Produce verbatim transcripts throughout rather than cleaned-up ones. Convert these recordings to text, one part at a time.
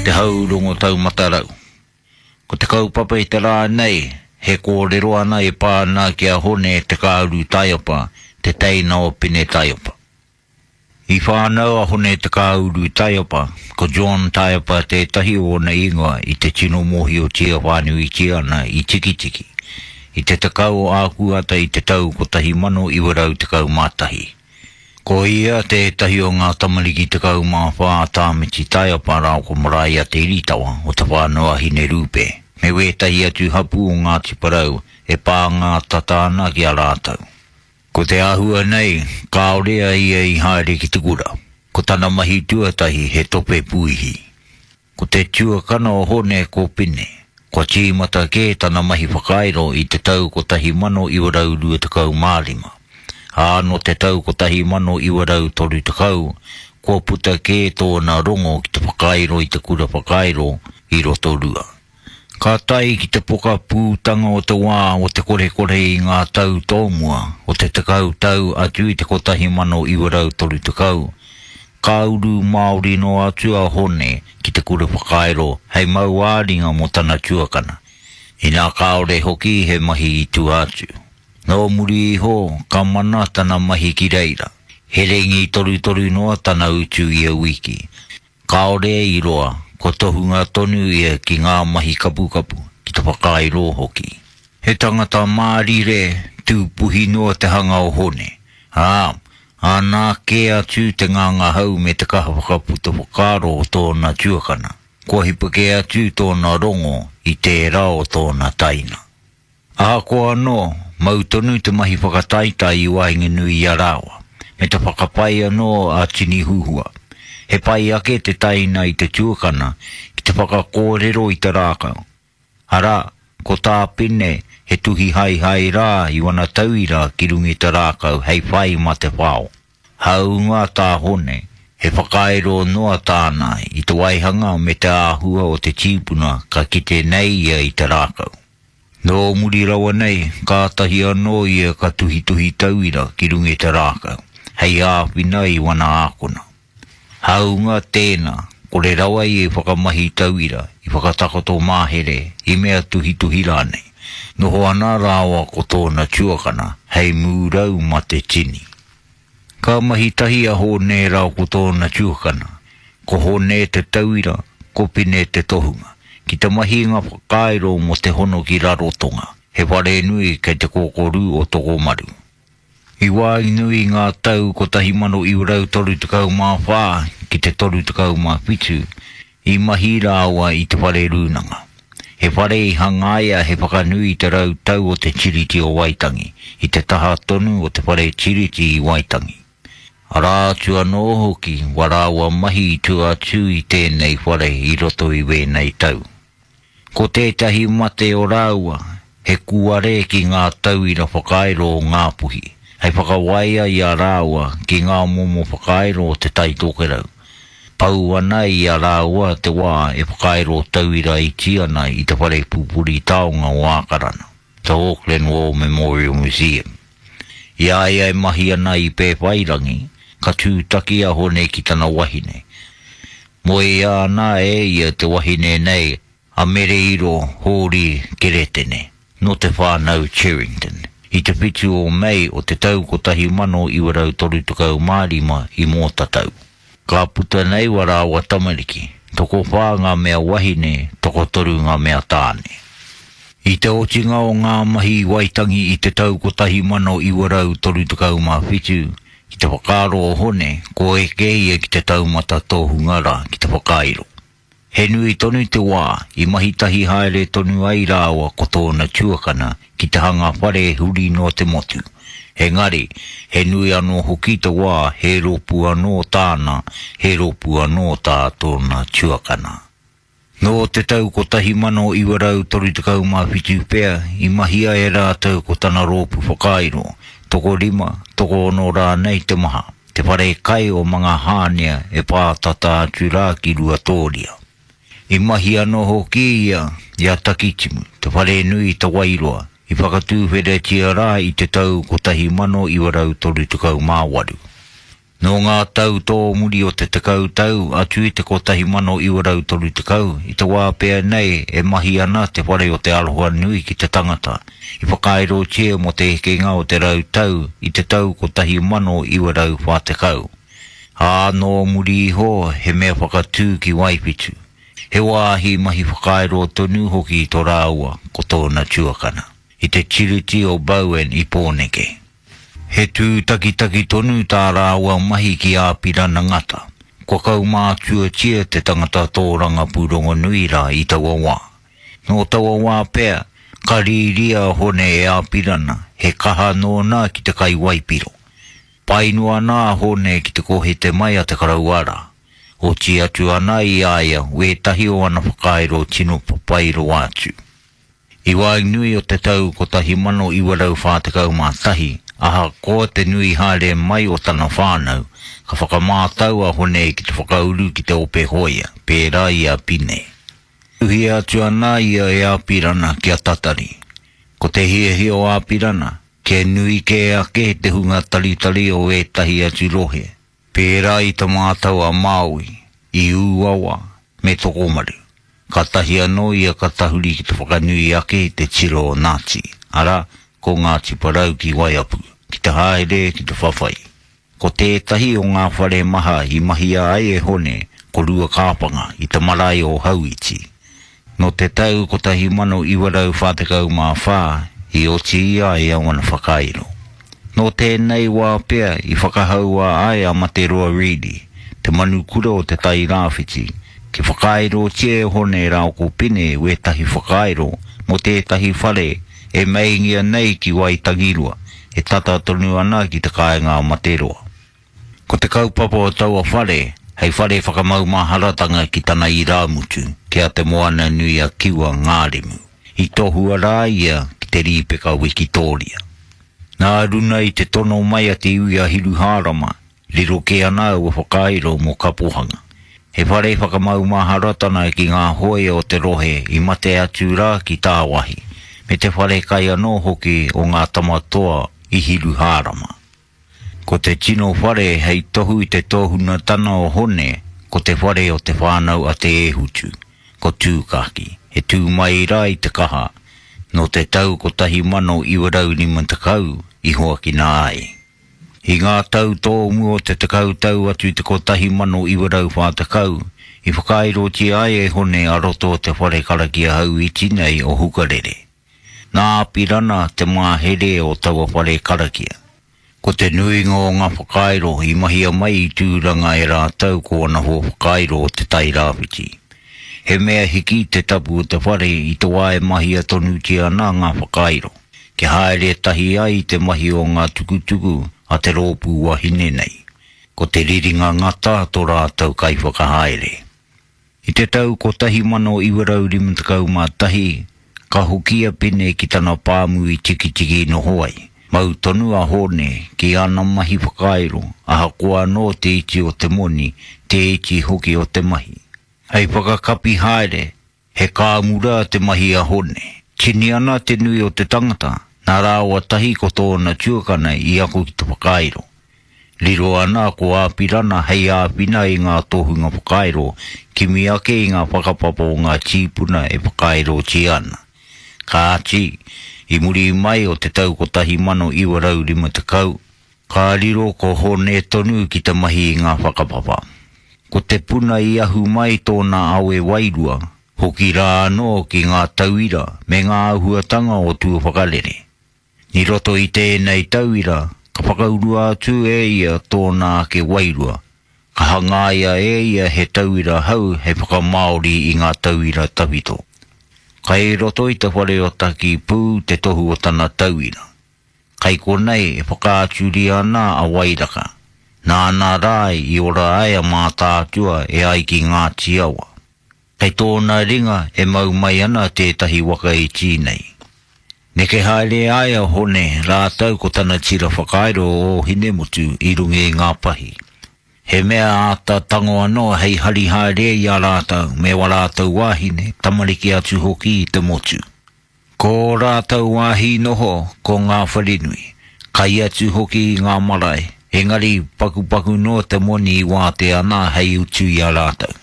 Te Hau Rongo Taumata Rau. Ko te kaupapa i te rā nei, he kōrero ana e pā ana ki a Hone Te Kāuru Taiapa, te teina o Pine Taiapa. I whānau a Hone Te Kāuru Taiapa, ko John Taiapa tētahi o ōna ingoa i te tino mōhiotia whānuitia ana i Tikitiki, i te tekau o Ākuhata i te tau kotahi mano iwa rau tekau mā tahi. Ko ia tētahi o ngā tamariki tekau mā whā a Tāmiti Taiapa rāua ko Maraea Te Iritawa o Te Whānau a Hinerupe, me wētahi atu hapū o Ngāti Porou e pānga tata ana ki a rātou. Ko te āhua nei, kāore a ia i haere ki te kura. Ko tana mahi tuatahi he tope puihi. Ko te tuakana o Hone ko Pine. Kua tīmata kē tana mahi whakairo i te tau kotahi mano iwa rau rua tekau mā rima. Ā, nō te tau kotahi mano iwa rau toru tekau, kua puta kē tōna rongo ki te whakairo i te kura whakairo i Rotorua. Ka tae ki te pokapūtanga o te wā o te korekore i ngā tau tōmua o te tekau tau atu i te kotahi mano iwa rau toru tekau, ka uru Māori noa atu a Hone ki te kura whakairo hei mau ā-ringa mō tana tuakana, inā kāore hoki he mahi i tua atu. Nō muri iho ka mana tana mahi ki reira, he rengi torutoru noa tana utu ia wiki. Kāore i roa, kua tohunga tonu ia ki ngā mahi kapukapu, ki te whakairo hoki. He tangata mārire, tūpuhi noa te hanga o Hone, ā, āna kē atu te ngangahau me te kaha whakaputa whakaaro o tōna tuakana, kua hipa kē atu tōna rongo i tērā o tōna taina. Ahakoa anō, mau tonu te mahi whakataetae i waenganui i a rāua, me te whakapai anō a Tini Huhua. He pai ake te taina i te tuakana ki te whakakōrero i te rākau. Arā, ko tā Pine he tuhi haehae rā i wana tauira ki runga i te rākau hei whai mā te whao. Hāunga tā Hone, he whakairo noa tāna i te waihanga me te āhua o te tīpuna ka kite nei ia i te rākau. Nō muri rawa nei, kātahi anō ia ka tuhituhi tauira ki runga i te rākau, hei āwhina i wana ākona. Hāunga tēnā, kore rawa ia i whakamahi tauira, i whakatakoto mahere, i mea tuhituhi rānei. Noho ana rāua ko tōna tuakana, hei mūrau mā te tini. Ka mahi tahi a Hone rāua ko tōna tuakana, ko Hone te tauira, ko Pine te tohunga, ki te mahi ngā whakairo mō te hono ki Rarotonga, he wharenui kei te kōkōrū o Tokomaru. I waenganui i ngā tau kotahi mano iwa rau toru tekau mā whā ki te toru tekau mā whitu, i mahi rāua i te whare rūnanga. He whare i hangaia he whakanui i te rau tau o te Tiriti o Waitangi, i te taha tonu o te whare Tiriti i Waitangi. Arā atu anō hoki wā rāua mahi i tua atu i tēnei whare i roto i wēnei tau. Ko tētahi mate o rāua, he kūare ki ngā tauira whakairo o Ngāpuhi, hei whakawaia i a rāua ki ngā momo whakairo o Te Tai Tokerau. Pau ana i a rāua te wā e whakairo tauira iti ana i te whare pupuri taonga o Ākarana, The Auckland War Memorial Museum. I a ia e mahi ana i Pēwhairangi, ka tūtaki a Hone ki tana wahine. Moea ana e ia te wahine nei a Mereiro Hōri Keretene, nō te whānau Cherrington, i te whitu o Mei o te tau kotahi mano iwa rau toru tekau mā rima i Mōtatau. Ka puta nei wā rāua tamariki, tokowhā ngā mea wahine, tokotoru ngā mea tāne. I te otinga o ngā mahi i Waitangi i te tau kotahi mano iwa rau toru tekau mā whitu, ki te whakaaro o Hone, ko eke ia ki te taumata tohunga rā ki te whakairo. He nui tonu te wā i mahi tahi haere tonu ai rāua ko tōna tuakana ki te hanga whare huri noa te motu. Engari, he nui anō hoki te wā he rōpū anō tāna, he rōpū anō tā tōna tuakana. Nō te tau kotahi mano iwa rau toru tekau mā whitu pea i mahia e rātou ko tana rōpū whakairo, tokorima, tokoono rānei te maha, te whare kai o Mangahānea e pātata atu rā ki Ruatōria. I mahi anō hoki ia i a Takitimu, te wharenui i Te Wairoa, i whakatūwheretia rā i te tau kotahi mano iwa rau toru tekau mā waru. Nō ngā tau tō muri o te tekau tau atu i te kotahi mano iwa rau toru tekau, i te wā pea nei e mahi ana te whare o te aroha nui ki te tangata, i whakaerotia mō te hekenga o te rau tau i te tau kotahi mano iwa rau whā tekau. Ā nō muri iho he mea whakatū ki Waiwhitu. He wāhi mahi whakaero tonu hoki tō rāua ko tōna tuakana, i te tiriti o Bowen i Pōneke. He tū takitaki tonu tā rāua mahi ki Āpirana Ngata. Kua kaumātuatia te tangata tōranga pūrongo nui rā i taua wā. Nō taua wā pea, ka rīria Hone e Āpirana, he kaha nōna ki te kai waipiro. Painua nā Hone ki te kohete mai a te karauara. Oti atu ana i aia, wētahi o ana whakairo tino papairo atu. I waenganui o te tau kotahi mano iwa rau whā tekau mā tahi, ahakoa te nui haere mai o tana whānau, ka whakamātau a Hone ki te whakauru ki te ope hoia, pērā i a Pine. Tuhia atu ana ia e Āpirana ki a Tatari. Ko te hiahia o Āpirana, kia nui kē ake te hunga taritari o ētahi atu rohe, pērā i te mātau a Māui, i Ūawa, me Tokomaru. Ka tahi anō ia ka tahuri ki te whakanui ake i te tiro o Nāti, arā, ko Ngāti Porou ki Waiapu, ki te haere ki te whawhai. Ko tētahi o ngā whare maha i mahia ai e Hone, ko Ruakāpanga i te marae o Hauiti. Nō te tau kotahi mano iwa rau whā tekau mā whā i oti i a ia wana whakairo. Nō tēnei wā pea i whakahaua ai a Materoa Reedy, te manukura o te Tai Rāwhiti, ki whakaerotia e Hone rāo ko Pine wētahi whakairo mō tētahi whare e meingia nei ki Waitangirua, e tata tonu ana ki te kāinga a Materoa. Ko te kaupapa o taua whare, hei whare whakamaumaharatanga ki tana irāmutu, ki a Te Moana Nui a Kiwa Ngāremu. I tohua rā ia ki te rīpeka Wikitōria. Nā runa i te tono mai a te iwi a Hiruhārama, riro kē ana aua whakairo mō Kapohanga. He whare whakamaumaharatana ki ngā hoia o te rohe i mate atu rā ki tāwahi, me te whare kai anō hoki o ngā tamatoa i Hiruhārama. Ko te tino whare hei tohu i te tōhunatana o Hone, ko te whare o te whānau a Te Ēhutu, ko Tūkaki, e tū mai rā i te kaha, nō te tau kotahi mano iwa rau rima tekau i hoakina ai. I ngā tau tōmu o te tekau tau atu i te kotahi mano iwa rau whā tekau, i whakaerotia ai e Hone a roto o te whare karakia Hauiti nei o Hukarere. Nā Āpirana te māhere o taua whare karakia. Ko te nuinga o ngā whakairo i mahia mai i Tūranga e rātou ko ana hoa whakairo o te Tai Rāwhiti. He mea hiki te tapu o te whare i te wā e mahia tonutia ana ngā whakairo, kia haere tahi ai te mahi o ngā tukutuku a te rōpū wahine nei. Ko te riringa ngata tō rātou kaiwhakahaere. I te tau kotahi mano iwa rau rima tekau mā tahi, ka hoki a Pine ki tana pāmu i Tikitiki noho ai. Mau tonu a Hone ki ana mahi whakairo, ahakoa anō te iti o te moni, te iti hoki o te mahi. Hei whakakapi haere, he kāmura te mahi a Hone. Tini ana te nui o te tangata, nā rāua tahi ko tōna tuakana i ako ki te whakairo. Riro ana ko Āpirana hei āwhina i ngā tohunga whakairo, kimi ake i ngā whakapapa o ngā tīpuna e whakairotia ana. Kāti, i muri mai o te tau kotahi mano iwa rau rima tekau, ka riro ko Hone tonu ki te mahi i ngā whakapapa. Ko te puna i ahu mai tōna awe wairua, hoki rā anō ki ngā tauira me ngā āhuatanga o Tuawhakarere. Ni roto i tēnei tauira, ka whakaurua atu e ia tōna ake wairua. Ka hangaia e ia he tauira hau hei whakamāori i ngā tauira tawhito. Kai roto i te whare o Taki Pū te tohu o tana tauira. Kai konei e whakaaturia ana a Wairaka. Nāna rā i ora ai a Mātaatua e ai ki ngā tiawa. Kei tōna ringa e mau mai ana tētahi waka iti nei. Neke haere ai a Hone rātou ko tana tira whakairo o Hinemutu i runga i ngā pahi. He mea āta tango anō hei hari haere i a rātou me wā rātou wāhine, tamariki atu hoki i te motu. Ko rātou wāhi noho ko ngā wharenui, kai atu hoki i ngā marae, Engari pakupaku noa te moni i wātea ana hei utu i a rātou.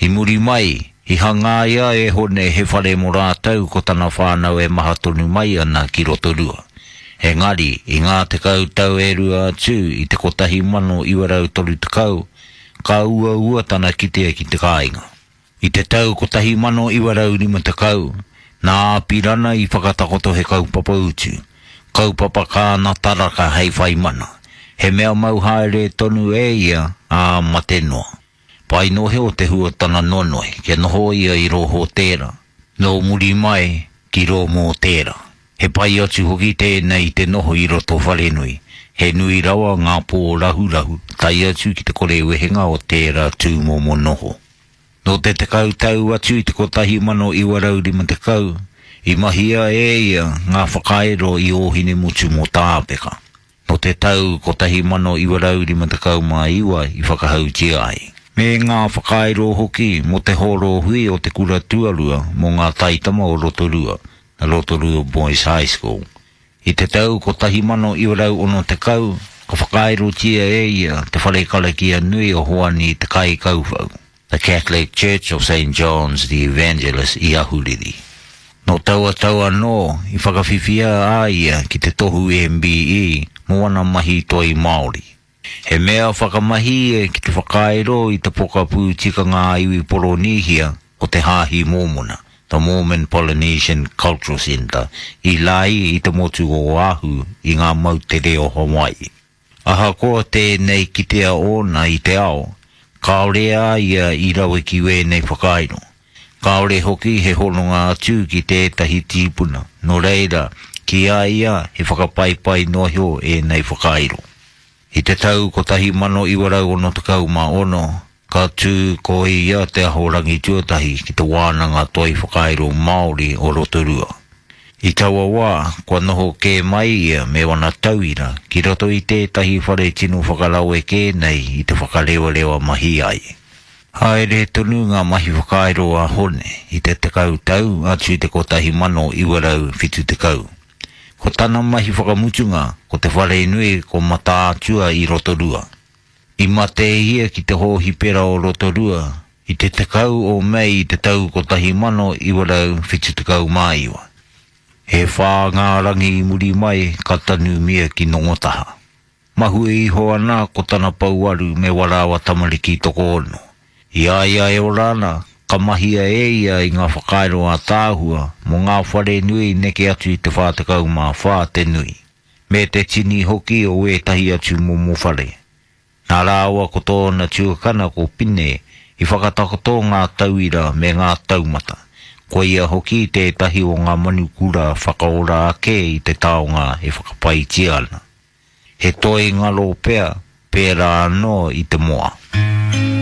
I muri mai, i hangaia e Hone he whare mō rātou ko tana whānau e maha tonu mai ana ki Rotorua. Engari, i ngā tekau tau e rua atu i te kotahi mano iwa rau toru tekau, ka uaua tana kitea ki te kāinga. I te tau kotahi mano iwa rau rima tekau, nā Apirana i whakatakoto he kaupapa utu, kaupapa kāna taraka hei whai mana. He mea mau haere tonu e ia, ā mate noa. Pai nohe o te hua tana nonoi, kia noho ia i rō hōtēra, nō muri mai ki rō mōtēra. He pai atu hoki tēnei i te noho i roto wharenui. He nui rawa ngā pō rahurahu, tae atu ki te kore wehenga o tērā tūmomo noho. Nō te tekau tau atu i te kotahi mano iwa rau rima tekau, i mahia e ia ngā whakairo i Ōhinemutu mō Tāpeka. Nō te tau kotahi mano iwa rau rima tekau mā iwa i whakahautia ai. Me ngā whakairo hoki mō te hōro hui o te kura tuarua mō ngā taitama o Rotorua, the Rotorua Boys High School. I te tau kotahi mano iwa rau ono tekau, ka whakairotia e ia te whare karakia nui o Hoani te Kaikauwhau, the Catholic Church of Saint John's the Evangelist i Ahuriri. Nō taua tau anō i whakawhiwhia a ia ki te tohu M B E mō ana mahi toi Māori. He mea whakamahi e ki te whakairo i te pokapū tikanga a iwi Poronihia o te Hāhi Mōmona, the Mormon Polynesian Cultural Centre, i Lae i te motu o Oahu i ngā moutere o Hawaii. Ahakoa tēnei kitea ōna i te ao, kāore a ia i rawe ki wēnei whakairo. Kāore hoki he hononga atu ki tētahi tīpuna, nō reira, ki a ia he whakapaipai noa iho ēnei whakairo. I te tau kotahi mano iwa rau ono tekau mā ono, ka tū ko ia te ahorangi tuatahi ki te wānanga toi whakairo Māori o Rotorua. I taua wā, kua noho kē mai ia me wana tauira ki roto i tētahi whare tino whakarawe kē nei i te whakarewarewa mahi ai. Haere tonu ngā mahi whakairo a Hone i te tekau tau atu i te kotahi mano iwa rau whitu tekau. Ko tana mahi whakamutunga, ko te whare nui ko Mataatua i Rotorua. I mate ia ki te hōhipera o Rotorua i te tekau o Mei i te tau kotahi mano iwa rau whitu tekau mā iwa. He whā ngā rangi i muri mai ka tanumia ki Nongotaha. Mahue iho ana ko tana pouaru me warawa tamariki tokoono. I a ia e ora ana, ka mahia e ia i ngā whakairo a tāhua mō ngā whare nui neke atu i te whā tekau mā whā te nui. Me te tini hoki o ētahi atu momo whare. Nā rāua ko tōna tuakana ko Pine i whakatakoto ngā tauira me ngā taumata. Ko ia hoki tētahi o ngā manukura whakaora ake i te taonga e whakapaitia ana. He toi ngaro pea, pērā anō i te moa.